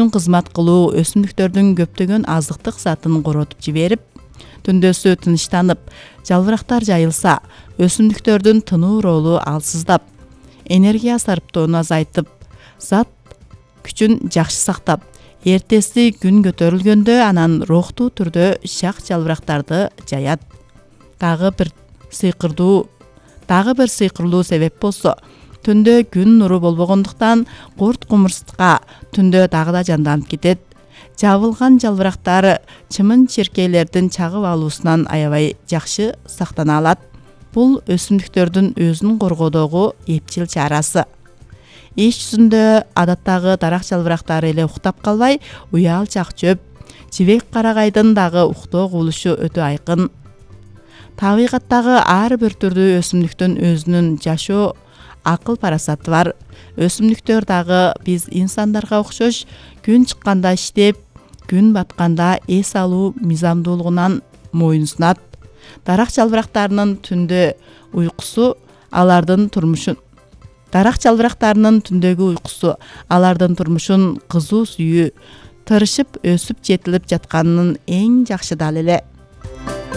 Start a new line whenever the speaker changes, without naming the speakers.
кызмат кылуу өсүмдүктөрдүн көптөгөн азыктык затын коротуп жиберип, түндөсү тынчтанып, жалбырактар жайылса, өсүмдүктөрдүн тынуу ролу алсыздап, энергия сарптоону азайтып, зат күчүн жакшы сактап, эртеси күн көтөрүлгөндө анан рухтуу түрдө шак жалбырактарды жаят. Дагы бир сыйкырлуу себеп болсо, түндө күн нуру болбогондуктан курт кумурска түндө дагы да жанданып кетет. Жабылган жалбырактар чымын-черкейлердин чагып алуусунан аябай жакшы сактана алат. Бул өсүмдүктөрдүн өзүн коргоодогу эпчил чарасы. Иш жүзүндө адаттагы дарак жалбырактары эле уктап калбай, уял чак-чөп, жибек карагайдын дагы уктоо кубулушу өтө айкын. Табигаттагы ар бир түрдүү өсүмдүктүн өзүнүн жашоо акыл-парасаты бар. Өсүмдүктөр дагы биз инсандарга окшош күн чыкканда иштеп, күн батканда эс алуу мыйзамдуулугунан моюн сунат. Дарак жалбырактарынын түндөгү уйкусу алардын турмушун кызуу сүйүү, тырышып өсүп жетилип жатканынын эң жакшы далили.